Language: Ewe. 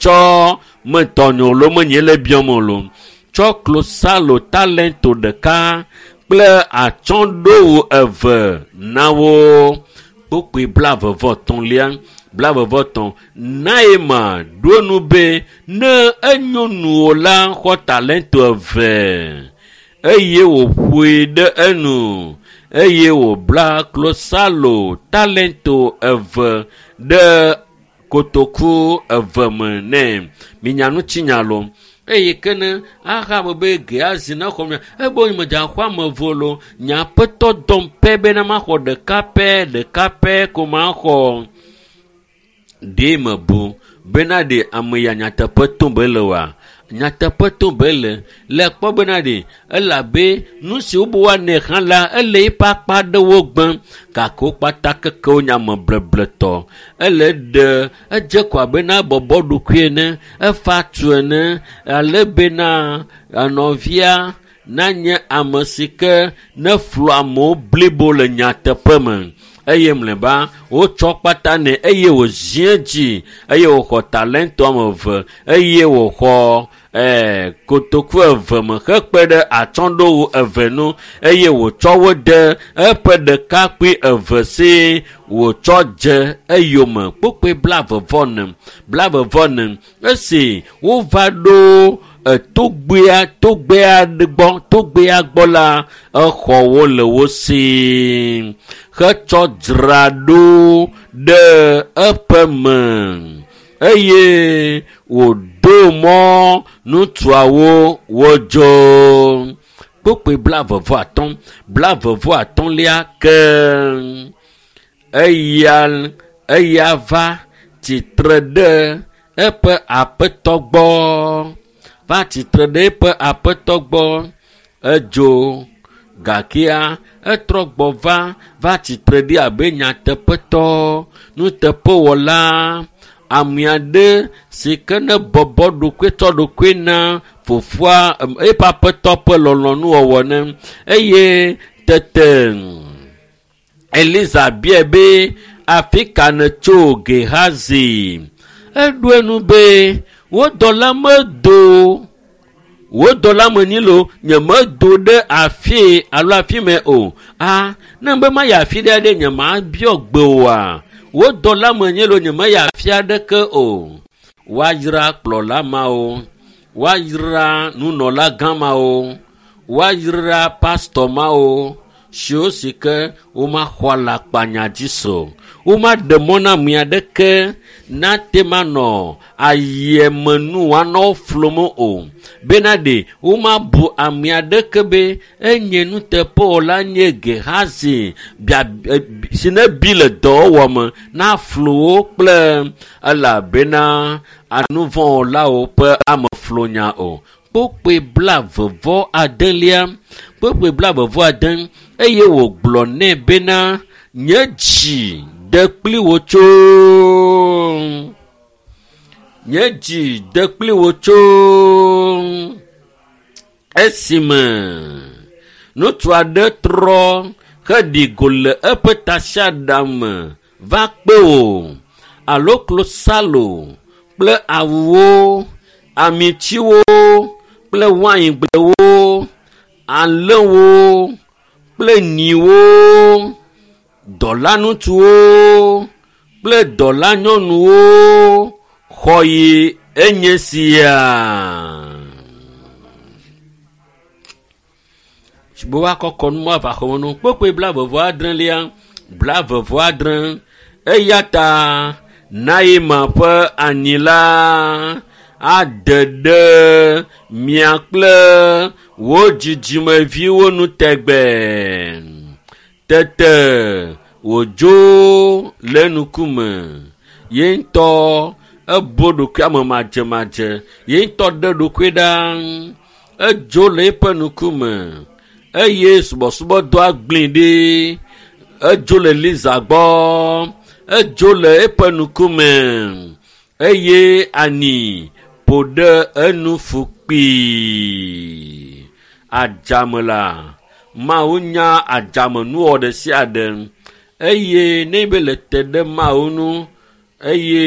Tsɔ metɔnye lo menye le biɔm o lo. Tsɔ klosalo talento ɖeka kple atsyɔ̃ɖowu eve na wo. Kpukpui blaeve-vɔ-etɔ̃lia, blaeve-vɔ-etɔ̃. Naeman ɖo enu be, ne enyo nuwò la, xɔ talento eve. Eye wòƒoe ɖe enu eye wòbla klosalo talento eve ɖe kotoku eve me nɛ. Minya ŋutinya lo. Eye ke ne Ahab be Gehazi nexɔ mia, ebe medze axɔ ame eve lo. Nye aƒetɔ dɔm pɛ bena maxɔ ɖeka pɛ, ɖeka pɛ ko maxɔ. Ɖe mebu bena ɖe ame ya nyateƒe tom be le oa? Nyateƒe tom be le. Le kpɔ bena ɖe elabe nu si wobe woanɛ hã la, ele eƒe akpa aɖewo gbem gake wo kpata keke wonye ame blebletɔ. Ele ɖe edze ko abe na ebɔbɔ ɖokui ene, efa tu ene ale bena nɔvia nanye ame si ke neflu amewo blibo le nyateƒe me. Eye mlɔeba wotsɔ kpata nɛ eye wòzi edzi eye wòxɔ talento ame eve eye wòxɔ ee kotoku eve me hekpe ɖe atsyɔ̃ɖowu eve nu eye wòtsɔ wo de eƒe ɖekakpui eve si wòtsɔ dze eyome kpukpui blaeve-vɔ-ene blaeve-vɔ-ene esi wova ɖo togbea togbea gbɔ togbea gbɔ la exɔ wo le wo si hetsɔ dzra ɖo ɖe eƒe me eye wòdo mɔ ŋutsuawo wodzo. Kpukpui blaeve-vɔ-atɔ̃ blaeve-vɔ-atɔ̃lia ke eya eya va tsitre ɖe eƒe aƒetɔ gbɔ va tsitre ɖe eƒe aƒetɔ gbɔ edzo gakea etrɔ gbɔ va va tsitre ɖi abe nyateƒetɔ nuteƒewɔla ame aɖe si ke ne bɔbɔ ɖokui tsɔ ɖokui na fofoa eƒe aƒetɔ ƒe lɔlɔ̃nuwɔwɔ ne eye tete Eliza biae be afi ka nètso Gehazi? Eɖo enu be wo dɔla medo wò dɔla menyi lo nyemedo ɖe afi alo afi mɛ o. A ne be mayi afi ɖe aɖe nyemabiɔ gbe oa? Wò dɔla menye lo nyemeyi afi aɖeke o. Woayra kplɔla mawo, woayra nunɔla gã mawo, woayra pastɔ mawo siwo si ke womaxɔ alakpanya dzi se o. Womaɖe mɔ na ame aɖeke nate manɔ ayemenu woanɔ wo flum o. Bena ɖe womabu ame aɖeke be enye nuteƒewɔla nye Gehazi bia si ne bi le dɔwɔwɔ me naflu wo kple elabena nuvɔ̃wɔlawo ƒe ameflunya o. Kpukpui blaeve-vɔ-adelia kpukpui blaeve-vɔ-ade eye wògblɔ nɛ bena nye dzi de kpli wò tso nye dzi de kpli wò tso esime ŋutsu aɖe trɔ heɖi go le eƒe tasiaɖam me va kpe wò alo klosalo kple awuwo amitiwo kple waingblewo alẽwo kple nyiwo dɔlaŋutsuwo kple dɔlanyɔnuwo xɔ yi enye sia. Be woakɔ kɔnu ava xɔme nu kpokpoe blaeve-vɔ-adrelia blaeve-vɔ-adre eya ta Naeman ƒe anyi la ade ɖe mia kple wò dzidzimeviwo nu tegbee. Tete wòdzo le ŋkume. Ye ŋutɔ ebo ɖokui ame madzemadze. Ye ŋutɔ ɖe ɖokui ɖa. Edzo le eƒe ŋkume eye subɔsubɔdɔa gblẽ ɖi. Edzo le Eliza gbɔ. Edzo le eƒe ŋkume eye ani ƒo ɖe enu fu kpii. Adzame la, Mawu nya adzamenuwɔ ɖe sia ɖe eye ne be le te ɖe Mawu ŋu eye.